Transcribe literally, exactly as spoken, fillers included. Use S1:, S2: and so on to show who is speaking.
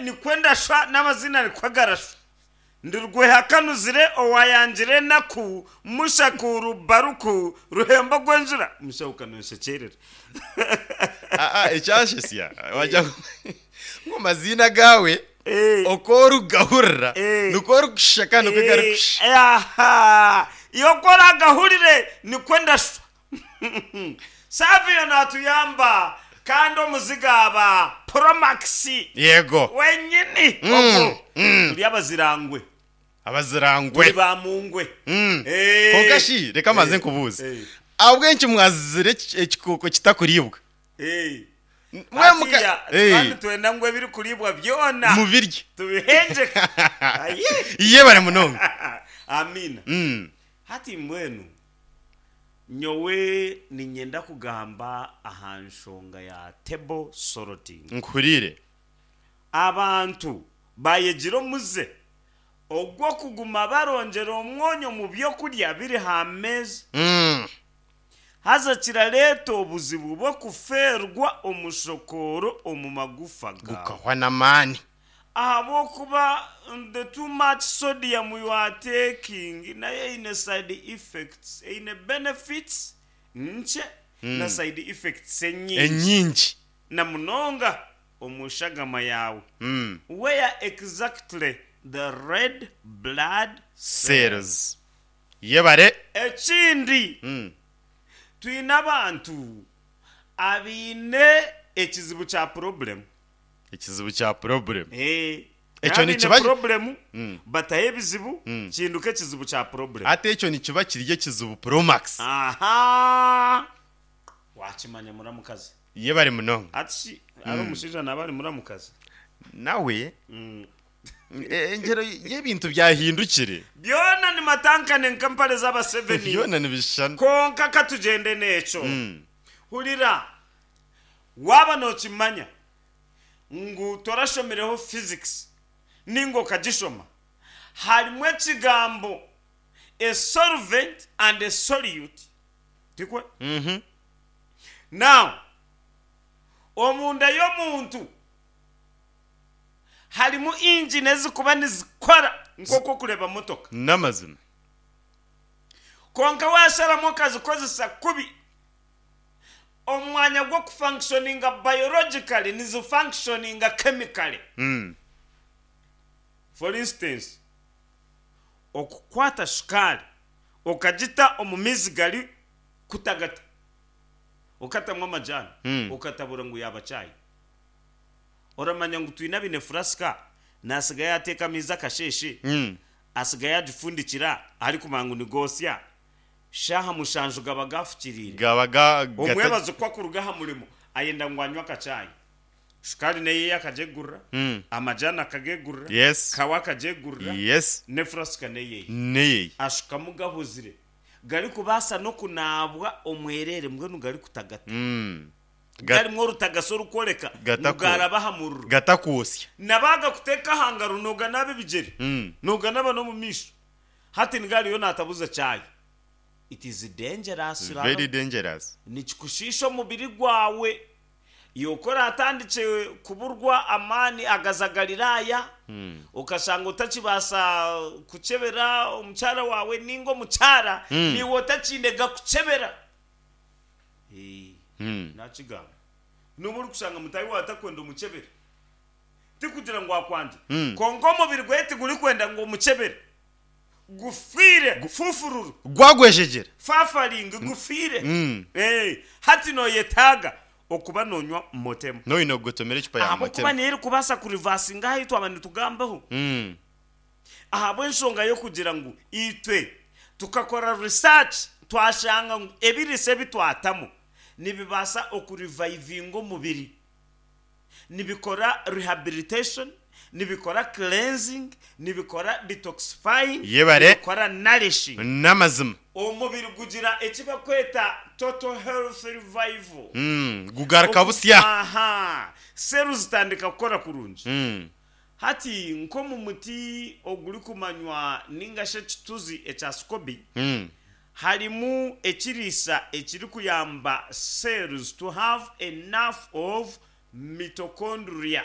S1: Nikwo ndashwa n'amazina nikwo garashwa. Ndi Rwehakanuzire owayangire enaku, Mushakuru Baruku Ruhembo gw'enjura. Mushaho kanonshekyerera.
S2: Aa ekyanshesya wagira ngu ngu amaziina gaawe
S1: Eh.
S2: oku orikugahurira
S1: Eh.
S2: nikwo orikushusha kandi nikwo garikushusha.
S1: Eh, aha iwe oku oragahurire nikwo ndashwa. Savio natuyamba kandi omuziga aba Promax
S2: Yego.
S1: wenyini
S2: Mm,
S1: ogwo.
S2: mm.
S1: Turi abazirangwe.
S2: Abazirangwe.
S1: Turi ba mungwe.
S2: Mm.
S1: Eh.
S2: Kwonka shi reka mbanze
S1: Eh,
S2: nkubuuze.
S1: eh.
S2: Ahabw'enki mwazire eki- ekikooko kitakuribwa?
S1: Eh.
S2: Mwe muka
S1: Hatiya
S2: Eh.
S1: kandi twenda ngu ebirikuribwa byona
S2: Mubirye.
S1: tubihengyeke. Aye.
S2: Yebare munonga.
S1: Amina.
S2: Mm.
S1: Hati mbwenu nyowe niinyenda kugamba aha nshonga ya table sorting.
S2: Nkuhuriire.
S1: Abantu bayegire omuze ogw'okuguma barongyera omwonyo omu byokurya biri aha meeza.
S2: Mm.
S1: Haza kirareeta obuzibu bw'okufeerwa omushokooro omu magufa gaawe.
S2: Gukahwa n'amaani.
S1: Ahabw'okuba the too much sodium you are taking nayo eine side effects, eine benefits nkye na side effects enyingi.
S2: Enyingi.
S1: Na munonga omu shagama yaawe.
S2: Mm.
S1: Where exactly the red blood
S2: Cells. Yebare.
S1: Ekindi
S2: Mm.
S1: twine abantu abaine ekizibu kya problem.
S2: Ekizibu kya problem.
S1: Eh,
S2: Ekyo
S1: abaine
S2: nikiba
S1: problem
S2: Mm.
S1: bataho ebizibu
S2: Mm.
S1: kihinduka ekizibu kya problem.
S2: Ate ekyo nikiba kiri ekizibu Promax.
S1: Aha. Wakimanya muramukazi.
S2: Yebare munonga.
S1: Ati shi ari omushaija naaba ari muramukazi.
S2: Nawe
S1: Mm.
S2: e- engyero y'ebintu byahindukire.
S1: Byona nimatankane nk'empare z'abaseveni.
S2: Byona nibishushana.
S1: Konka katugyende n'ekyo.
S2: Mm.
S1: Hurira waaba nookimanya ngu torashomireho physics ninga okagishoma harimu ekigambo a solvent and a solute tikwe?
S2: Mhm.
S1: Now omunda y'omuntu harimu engine ezikuba nizikora nk'oku okureba motoka.
S2: N'amazima.
S1: Konka washaramu okazikozesa kubi omwanya gw'okufunctioninga biologically nizifunctioninga chemically.
S2: Mm.
S1: For instance okukwata shukaari okagita omu maizi gari kutagata okatamu amajani
S2: Mm.
S1: okatabura ngu yaaba chai. Oramanya ngu twine abaine furasika nasigayo yateeka amaizi akasheeshe
S2: Mm.
S1: asigayo yagifundikira arikumanya ngu nigosya shaaha mushanju gaba gafukiriire.
S2: Gaba ga gata
S1: Omwebazo ku akuruga aha murimo ayenda ngu anywe akachai shukaari neyeye akagyegurira
S2: Mm.
S1: amajani akagegurira
S2: Yes.
S1: kawa akagyegurira
S2: Yes.
S1: n'efurasika neyeye
S2: Neyeye.
S1: ashukamu gahuzire garikubaasa n'okunaabwa omwereere mbwenu garikutagata.
S2: Mm. Ga-
S1: Garimu orutagasi orukworeka ngu
S2: Gatako.
S1: garaba aha muriro.
S2: Gatakwosya.
S1: Nabaga kuteeka aha ngaro nooganaaba ebigyere
S2: Mm.
S1: nooganaaba n'omu maisho hati nigariyo naatabuza chai. It is dangerous.
S2: Very dangerous.
S1: Nikikushiisha omubiri gwawe iwe ku oratandikye kuburwa amaani agazagariraaya
S2: Mm.
S1: okashanga otakibaasa kukyebera omukyara waawe ninga omukyara
S2: Mm.
S1: niiwe otakiine gakukyebera. Eh,
S2: Mm.
S1: nakigamba nobu orikushanga mutaahi waawe atakwenda omukyebere tikugira ngu akwangye
S2: Mm.
S1: kwonka omubiri gwe tigurikwenda ngu omukyebere gufiire gufufururu
S2: Gwagwejegyera.
S1: fafaringi gufiire.
S2: Mm.
S1: Eh, hati noyetaaga okuba nonywa motemu
S2: Noine okugotomera ecupa ya
S1: ahabw'okuba
S2: motemu.
S1: niyo erikubaasa kurivasinga ahu twaba nitugambaho
S2: Mm.
S1: ahabw'enshonga y'okugira ngu itwe tukakora research twashanga ngu ebiriisa ebi twatamu nibibaasa okurivayivinga omubiri nibikora rehabilitation nibikora cleansing nibikora detoxifying
S2: Yebare.
S1: nibikora nourishing.
S2: N'amazima.
S1: Omubiri gugira eki bakweta total health revival.
S2: Mm. Gugaruka busya.
S1: Aha seru zitandika kukora kurungi.
S2: Mm.
S1: Hati nk'omu muti ogurikumanywa ninga shi ekituzi ekya scobi
S2: Mm.
S1: harimu ekiriisa ekirikuyamba cells to have enough of mitochondria.